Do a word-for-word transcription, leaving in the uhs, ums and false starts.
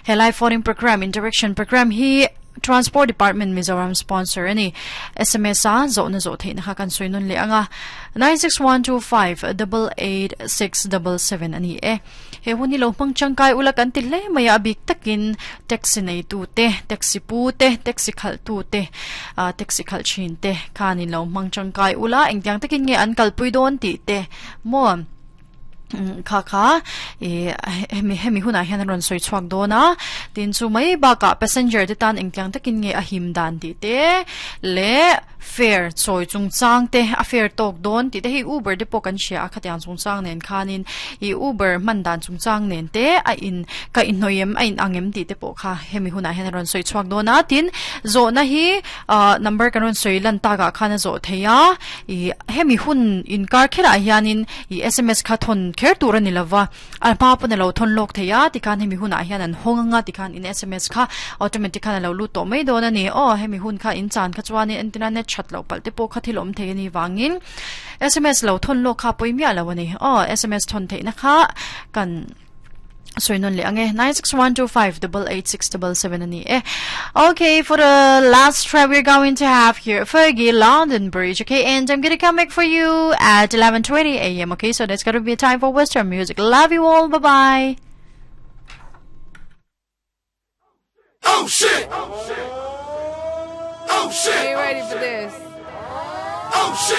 He live phone program interaction program hi Transport Department Mizoram sponsor ani S M S a zo na zo theina kha kan soinun le anga nine six one two five eight eight six seven seven ani e he huni lo hmang changkai ula kan ti hle maya bik takin taxi nei tu te taxi pu te taxi khal tu te taxi khal chin te khanin lo hmang changkai ula engtiang takin nge an kalpui don ti te mo kha kha e hemi hemi huna hian ron soi chuak dona tin chu mai ba ka passenger te tan engtiang takin nge a him dan ti te le fare choi chung chang te a fare tok don ti te hi Uber de pawh kan hria a khatiang chung chang nen khanin i Uber man dan chung chang nen te a in ka in hnoiem a in angem ti te pawh kha hemi huna hian ron soi chuak dona tin zo na hi number kan ron soi lan ta ga khana zo theia i hemi hun in kar khera hianin i S M S kha thon kher tur ani lova a pa pon lo thon lok theia ti khan hemi huna hian an honganga ti khan in S M S kha automatic khan lo lu to mai don ani o hemi hun kha in chan kha chuan in internet chat lo pal te po kha thilom thei ani wangin S M S lo thon lo kha poimia lo ani o S M S thon thei na kha kan soinon le ange nine six one two five eight eight six seven seven ani eh. Okay, for the last track we're going to have here Fergie, London Bridge. Okay, and I'm gonna come back for you at eleven twenty A M Okay, so that's gonna be a time for Western music. Love you all. Bye bye. Oh shit! Oh shit! Oh shit! Are you ready for this? Oh shit!